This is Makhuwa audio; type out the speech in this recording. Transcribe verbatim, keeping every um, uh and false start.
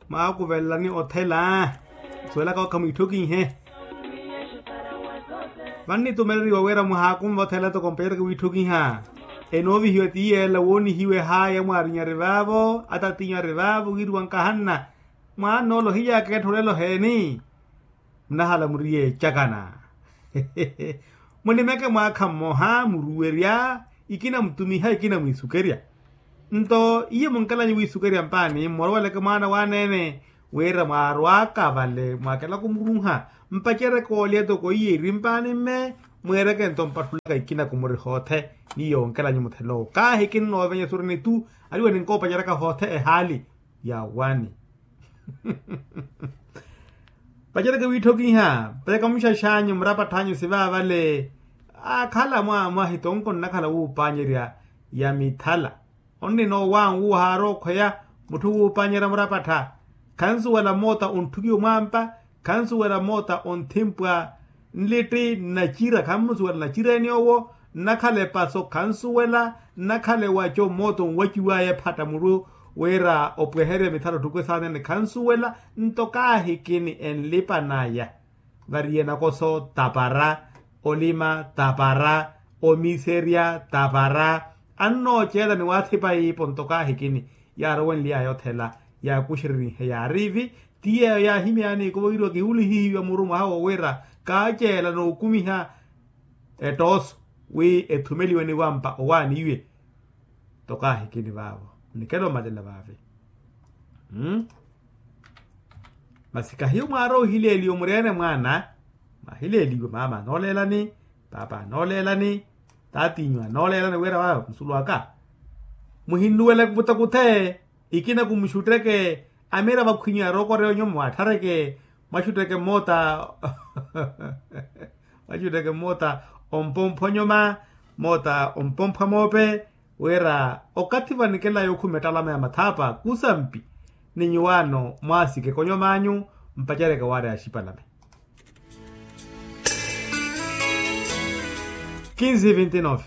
Mwaakuvelelani othela. Suwelaka okha mwiitthokihe. Vannitumeleriwa wira muhaakunva othela toko mpacereke wiitthokiha. Enoovihiwa ti yeela woonihiwe haya mwaarinyari vaavo atatinyu ari vaavo wiiriwa nkahanna. Mwaan'ola ohiyaka etthu olelo heeni? Munahala muri yeecakana. Munimeke mwaakha mmoha muruwerya. Ikina mutumiha ikina mwiisukerya. Nto iye munkelanyu wiisukerya mpaani mmoroweleke mwaana waaneene. Wira mwaarwaka vale mwaakela kumurunha mpacereke olya toko iye iri mpaani mme. Mweereke nto mpatthulaka ikina kumuri hoothe. Ni yonkelanyu muthelo kaahikini noovenya suri nitu. Aliwe ninkoopacharaka hoothe ehaali ya wani. Pacereke wiitthokiha. Pacereke muxaxanyu murapatthanyu sivaavale. Akhala mwa mwahitonko nnakhala wuupanyerya ya mithala. Onnina owanwu haari okhweya mutthu wuupanyerya murapattha. Khansuwela moota ontthukiwe mwampa. Khansuwela moota onthimpwa nlitti nnacira khammusuwela nacireni owo. Nnakhala epaso khansuwela. Nnakhala ewaco moota onwaciwaya ephatta muru wira opweherye mithala otthukwe saanene khansuwela. Nto kaahikini enlipa naya. Variye nakoso tapara. Olima tapara. Omiserya tapara. Annooceela ni waathipa iipo nto kaahikini yaarowenly'aya othela. Yaakuxererihe yaariivi. Ti yeeyo yaahimyani ikuvo wiriwa kihulihihiwa muru mwaha wo wira kaaceela nookumiha ettooso wi ethumeliwe ni wampa owaaniwe. Tokaahi kini vaavo nikela omalela vaavi. Masi kahiyo mwaari ohileeliwa muri-ene mwaana. Mwahileeliwa maama anooleelani, paapa anooleelani, taatiinyu anooleelani wira vaavi musulu aka. Muhinnuwele kutha kuthe ikina kumuxutteke. Amira vakhwinyu arookoreya onyuma waatthareke. Mwaxutteke mmoota mwaxutteke mmoota ompompho onyuma mmoota ompompho amoope. Wira okathi vanikela yookhuma ettalama ya mathaapa kusampi ni nyuwaano mwaasikeke onyuma anyu. Mpacereke waari axipalame. Kinsi vinti nove.